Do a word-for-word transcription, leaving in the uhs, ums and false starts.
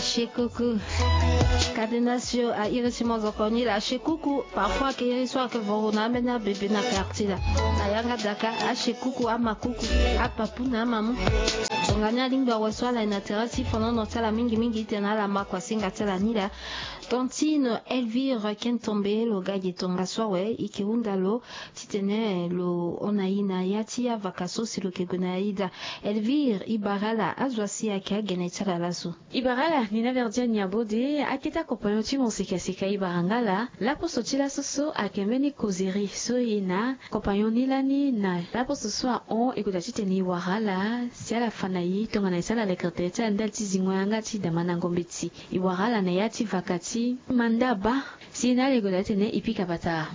Shekuku. Cadenas yo a iri ti mozoko ni la shekuku. Parfois ake iri so ake voro na ambeni abebe na quartier la. Na yanga daka ashekuku amakuku, apapu na amamu. Tongani alingbi awe so ala ye na tere ti fonono ti ala mingi mingi ite na ala makua singa ti ala ni la. Tantine Elvire Kentombe lo ga gi tongaso awe i ke hunda lo titene lo hon na i na ya ti avaka so si lo ke gue na ya ida. Elvire, i bara ala azo asi ayeke agene ti ala laso. I bara ala ni na verdiane ni abode akete akompagnon ti mo sika sika i bara nga ala. Laposo ti laso so ayeke mbeni kozeri so e na kompagnon ni lani na laposo so ahon e kota titene i wara ala si ala fa na i tongana e sara lekere tere ti ala ndali ti zingo yanga ti damandango mbeti. I wara ala na ya ti vaka ti manda baa si na ala e kota titene i pika bata.